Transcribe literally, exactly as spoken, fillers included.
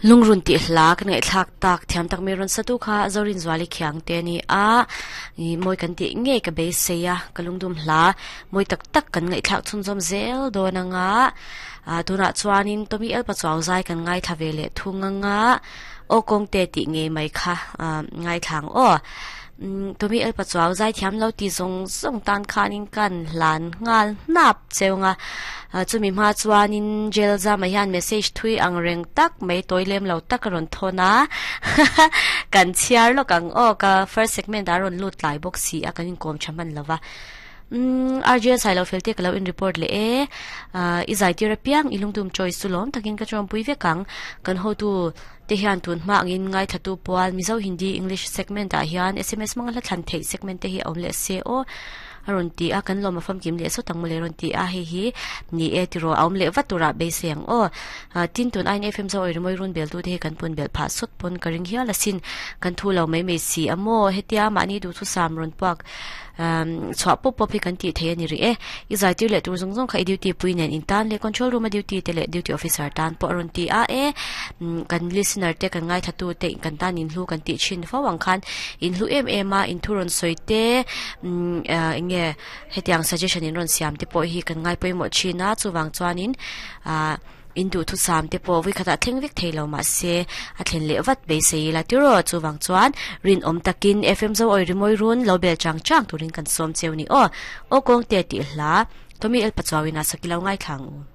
Lungrun ti hla kan ngai thlak tak thiam tak me ron satu kha zorin zwali khiang te ni a i moi kan ti nge ka be seya kalungdum hla moi tak tak kan ngai thlak chun zom zel do na nga a tuna chuanin tomi el pa chaw zai kan ngai thavele thunga nga o kong te ti nge mai kha ngai thlang o tomi el pa chaw zai thiam lo ti zong zong tan khanin kan hlan ngal nap cheunga chumi ma chuanin jail za mai hian message thui ang reng tak mai toilem lo tak ron thona kan chiar lo kang o ka first segment aron lut lai box si a kan in kom chaman lova um R J sai lo felte kalo in report le e i zai ti rapiang ilungdum choice sulom takin ka chom pui ve kang kan ho tu te hian tun ma angin ngai thatu pawal Mizo Hindi English segment a hian S M S mangla thlan thei segment te hi awm le se o aron ti a kan loma fam kim le so tang mole ron ti a hi hi ni e ti ro awm le vatura be seng o tin tun in F M zo oi moi run bel tu te kan pun bel pha sot pon karing hial asin kan thu lo mai mai si amo hetia mani du thu sam ron pak um chwa pop pop hi kan ti the ani ri e i zai ti le tur zong zong kha duty pui nen in tan le control room a duty te le duty officer tan po ron ti a e kan listener te kan ngai thatu te kan tan in hlu kan ti chin fa wang khan in hlu em em a in thuron soi te nge hetiang suggestion in ron siam te po hi kan ngai poi mo china chuwang chuanin a in du thu sam te po vi khata thleng vek theilo ma se a thlen le vat be sei la tiro chuwang chuan rin om takin F M zo oi rimoi run lo bel chang chang turin kan som cheu ni o o kong te ti hla tomi el pachawina sakilau ngai thlang u.